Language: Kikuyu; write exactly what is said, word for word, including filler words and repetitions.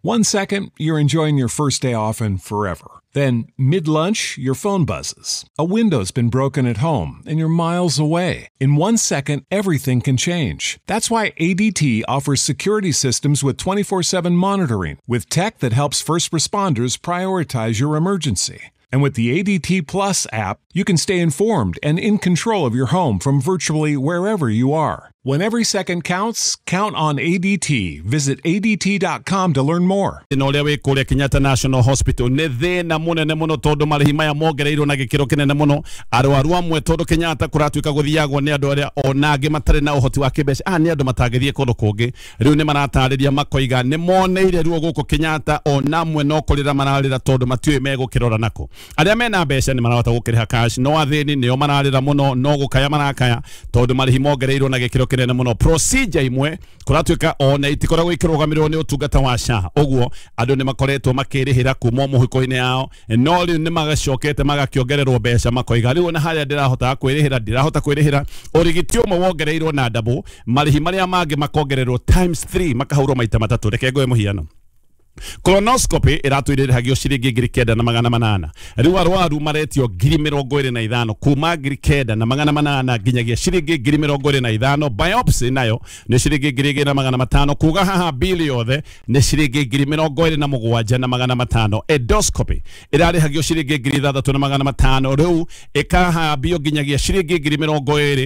One second, you're enjoying your first day off and forever. Then, mid lunch, your phone buzzes. A window's been broken at home and you're miles away. In one second, everything can change. That's why A D T offers security systems with twenty-four seven monitoring, with tech that helps first responders prioritize your emergency. And with the A D T Plus app, you can stay informed and in control of your home from virtually wherever you are. When every second counts, count on A D T. Visit A D T dot com to learn more. Na ũrĩa wĩ kũrĩa Kenyatta National Hospital nĩ thĩna mũnene mũno tondũ marĩhi maya mongereirwo na gĩkĩro kĩnene mũno. Arwaru amwe tondũ Kenyatta kũratuĩka gũthiagwo nĩ andũ arĩa ona angĩ matarĩ na ũhoti wa kĩmbeca, ah, nĩ andũ matangĩthiĩ kũndũ kũngĩ. Rĩu nĩ maratarĩria makoiga nĩ moneire ruo gũkũ Kenyatta, ona amwe no kũrĩra mararĩra tondũ matiũĩ megũkĩrora nako. Arĩa mena mbeca nĩ marahota gũkĩrĩha cash, no athĩni nĩo mararĩra mũno, no gũkaya marakaya tondũ marĩhi mongereirwo na gĩkĩro kĩnene mũno. Procedure imwe kũratuĩka ona itikoragwo ikĩrũgamĩrĩrwo nĩ ũtungata wa S H A, ũguo andũ nĩ makoretwo makĩrĩhĩra kuma mũhuko-inĩ yao, no rĩu nĩ magacokete magakĩongererwo mbeca makoiga rĩu ona harĩa ndĩrahota kwĩrĩhĩra ndirahota kwĩrĩhĩra. Ũrigiti ũmwe wongereirwo na double, marĩhi marĩa mangĩ makongererwo times three, makahũrwo maita matatũ. Reke ngoe mũhiano. Colonoscopy ĩratũire ĩrĩhagio ciringi ngiri kenda na magana manana, rĩu arwaru maretio ngiri mĩrongo ĩrĩ na ithano, kuma ngiri kenda na magana manana nginyagia ciringi ngiri mĩrongo ĩrĩ na ithano. Biopsy nayo nĩ ciringi ngiri igĩrĩ na magana matano, kuga haha bili yothe nĩ ciringi ngiri mĩrongo ĩrĩ na mũgwanja na magana matano. Endoscopy ĩrarĩhagio ciringi ngiri ithathatũ na magana matano, rĩu ĩkahambio nginyagia ciringi ngiri mĩrongo ĩrĩ.